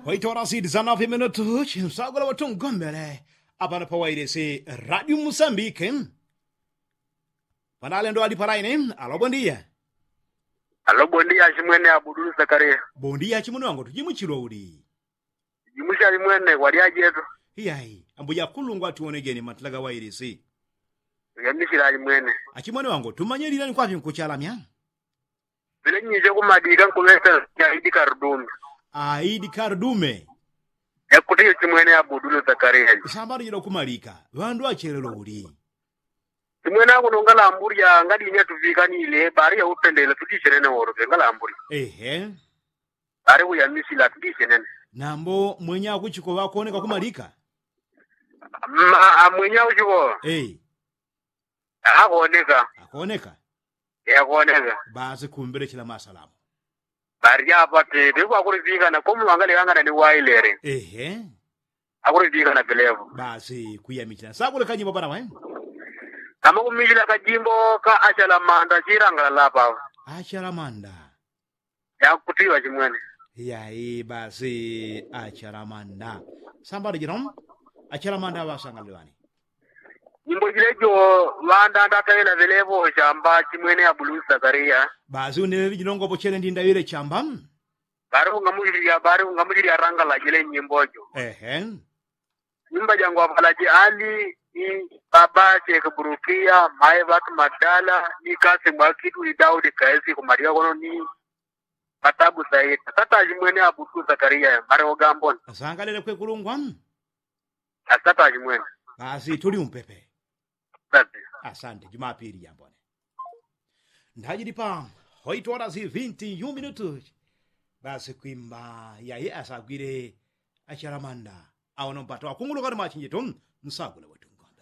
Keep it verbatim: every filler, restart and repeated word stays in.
Waitola siti sana fiminutu chinsagula watungombele apano pawailisi radio musambike. Panalendo ali palaine alo bondia. Alo bondia achimwene abudulu zakaria. Bondia achimwene wangu tujimuchilwa uli? Jimuchali mwene kwali ajetu. Iyayi ambuja kulungwa tuwonejeni matila gawailisi. Yamichila ali mwene. Achimwene wangu tumanyelilani kwapi nkuchalamya? Pele nyiche kumadika nkuŵesa aidi karudume. Aidi karudume. Yakutiyo chimwene abudulu zakaria. Sambano jila kumalika ŵandu achelelo uli? Chimwene akuno ngalambulya ngadinya tuŵikanile bari yaupendele tutichenene woloke ngalambulya. Ehe. Bari kuyamisila tutichenene. Nambo mwenye akuchiko ŵakoneka kumalika? Mwenye akuchiko. Akoneka. Akoneka. Yakoneka. Basi kumbelechela masalamu. Bari apa te te kwakulivikana komu wangalikangana ni wailele. Ehe. Akulivikana vilevo. Basi kuyamichila sakulekanyimbo pana wae. Kama kumichila kajimbo ka achalamanda chilangalala apa. Achalamanda. Yakutiwa chimwene. Iyayi basi achalamanda. Sambano jino achalamanda ŵasangalile ŵani? Nyimbo jilejo ŵanda ndatawila vilevo chamba chimwene abulu zakaria. Basi uneŵeŵi jinongopo chene ndindawile chamba. Bari ungamuchilya bari ungamuchilya rangala jile nyimbo jo. Ehe. Nyimbo jangu apalaji ali ni baba cheke burukia mae ŵatu madala ni kasi mwakitu ni daudi kaesi kumalia kono ni patabu saita sataji mwene abutu zakaria mare ogambona. Asangalile kwekulungwa. Asataji mwene. Basi tuli umpepe. Asante jumapili jambone. Ndajilipa hoitwala si vinti yu minutu. Basi kwimba yaye asagwile achalamanda. Awono mpata wakunguluka ni machinjitu. Msagule wetu ngombe.